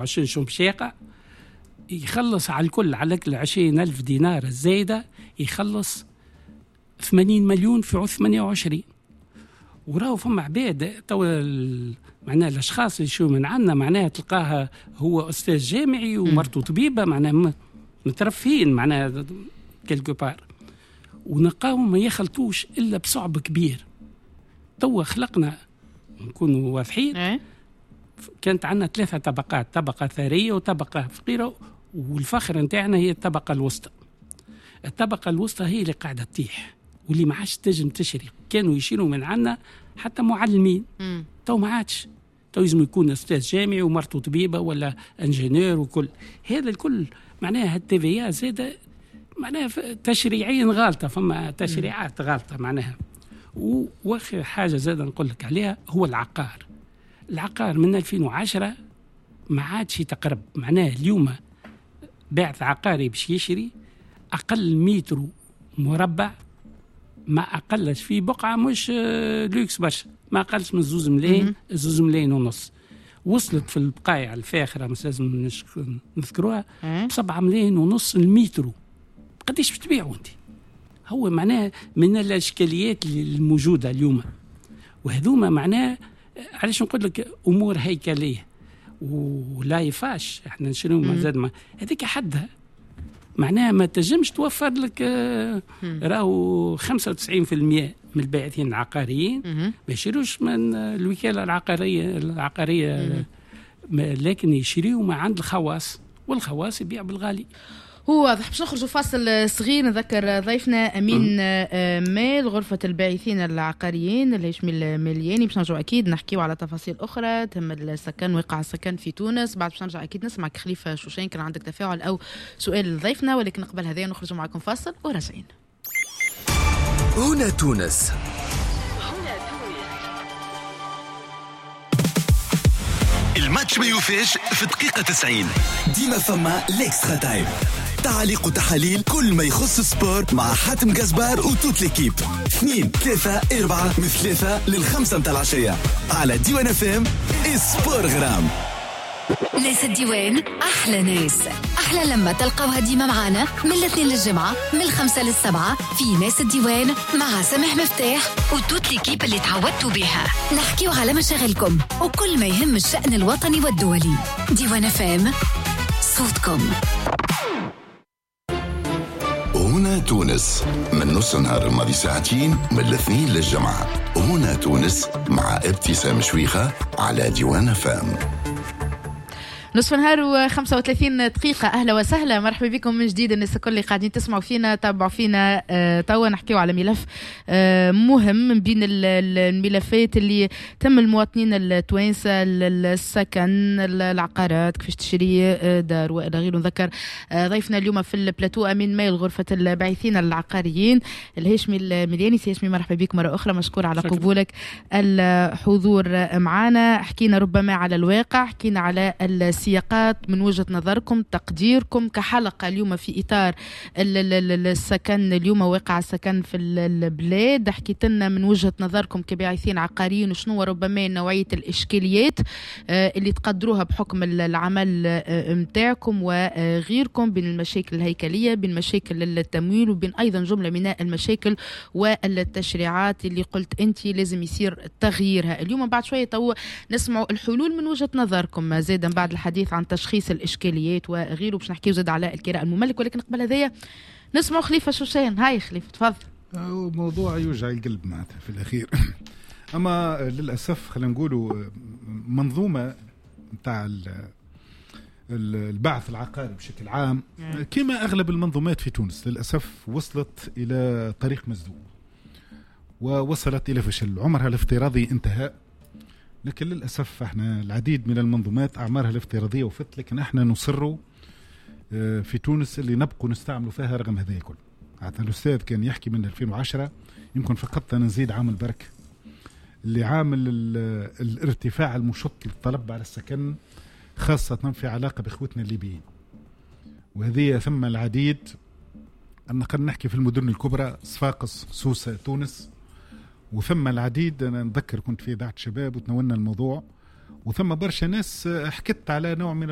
20 شو باش يقع؟ يخلص على الكل، على كل 20,000 دينار الزايدة يخلص 80 مليون في عوض 28. وراهو فما عباد تو معناها الاشخاص اللي شو من عندنا، معناها تلقاها هو استاذ جامعي ومرته طبيبه، معناها مترفهين معناها quelque part، ونلقاهم ما يخلطوش الا بصعب كبير. توا خلقنا، نكونوا واضحين، كانت عندنا 3 طبقات، طبقه ثرية وطبقه فقيرة، والفخر نتاعنا هي الطبقة الوسطى. الطبقة الوسطى هي اللي قاعدة تطيح واللي ما عادش تنجم تشري. كانوا يشيلوا من عندنا حتى معلمين، تو ما عادش، تو لازم يكون استاذ جامعي ومرته طبيبه ولا ingénieur وكل هذا الكل. معناها ال TVA زاد معناها تشريعيا غالطه، فما تشريعات غالطه معناها. واخر حاجة زاد نقول لك عليها هو العقار. العقار من 2010 ما عادش يتقرب، معناه اليوم باعث عقاري باش يشري اقل متر مربع ما اقلش في بقعة مش لوكس برشا، ما اقلش من 2 ملايين، 2 ملايين ونص. وصلت في البقايع الفاخرة مش لازم نذكروها ب7 ملايين ونص المترو. قديش باش تبيعوا انت؟ هو معناه من الاشكاليات الموجودة اليوم، وهذوما معناه علاش نقول لك امور هيكلية ولا يفاش احنا نشريو مازال ما هذيك حدها، معناها ما تنجمش توفر لك. راهو 95% من الباعثين العقاريين ما يشيروش من الوكالة العقارية، لكن يشريوا ما عند الخواص، والخواص يبيع بالغالي. هو واضح. باش نخرجوا فاصل صغير، نذكر ضيفنا امين مال غرفة الباعثين العقاريين الهاشمي الملياني، باش نرجعوا اكيد نحكيو على تفاصيل اخرى تهم السكن، وقع السكن في تونس. بعد باش نرجع اكيد نسمعك خليفة شوشان كان عندك تفاعل او سؤال لضيفنا، ولكن قبل هذا نخرجوا معكم فاصل وراجعين. هنا تونس، الماتش ما يوفيش في دقيقة 90، ديما فما l'extra time، تعليق وتحاليل كل ما يخص ال sport مع حاتم قزبار و toute l'équipe. 2 3 4 من 3 لل5 متاع العشية على ديوان FM. sport غرام. ناس الديوان أحلى ناس، أحلى لما تلقوها ديما معانا من الاثنين للجمعة من 5 لل7 في ناس الديوان مع سامح مفتاح و toute l'équipe اللي تعودتوا بها. نحكيو على مشاغلكم وكل ما يهم الشأن الوطني والدولي. ديوان FM، صوتكم. هنا تونس من نص نهار الماضي ساعتين من الاثنين للجمعة. هنا تونس مع ابتسام شويخة على ديوان FM. نصف نهار و35 دقيقة. أهلا وسهلا، مرحبا بكم من جديد الناس الكل اللي قاعدين تسمعوا فينا تابعوا فينا. توا نحكيو على ملف مهم من بين الملفات اللي تم المواطنين التوانسة، السكن، العقارات، كيفاش تشري دار وإلى غيره. نذكر ضيفنا اليوم في البلاتو أمين مال غرفة الباعثين العقاريين الهاشمي الملياني. سي هاشمي مرحبا بك مرة أخرى، مشكور على قبولك الحضور معنا. حكينا ربما على الواقع، حكينا على السياقات من وجهة نظركم، تقديركم كحلقة اليوم في إطار السكن اليوم، واقع السكن في البلاد. حكيت لنا من وجهة نظركم كباعثين عقاريين وشنو ربما نوعية الإشكاليات اللي تقدروها بحكم العمل متاعكم وغيركم، بين المشاكل الهيكلية، بين مشاكل التمويل، وبين أيضا جملة من المشاكل والتشريعات اللي قلت أنت لازم يصير تغييرها. اليوم بعد شوية تو نسمعوا الحلول من وجهة نظركم زادا بعد الحديث عن تشخيص الإشكاليات وغيره، باش نحكيو زاد على الكراء المملك. ولكن قبل هذايا نسمعوا خليفة شوشان. هاي خليفة تفضل. موضوع يوجع القلب معناتها في الأخير. أما للأسف خلينا نقولوا منظومة نتاع البعث العقاري بشكل عام كما أغلب المنظومات في تونس للأسف وصلت إلى طريق مسدود ووصلت إلى فشل، عمرها الافتراضي انتهى. لكن للأسف احنا العديد من المنظومات أعمارها الافتراضية وفت، لكن احنا نصر في تونس اللي نبقوا نستعملوا فيها رغم هذا الكل. حتى الأستاذ كان يحكي من 2010 يمكن فقط أنا نزيد عامل برك اللي عامل الارتفاع المشط للطلب على السكن، خاصة في علاقة بإخوتنا الليبيين، وهذه ثم العديد. أنا قد نحكي في المدن الكبرى صفاقس، سوسة، تونس، وثم العديد. أنا نذكر كنت في إذاعة شباب وتناولنا الموضوع، وثم برشا ناس حكت على نوع من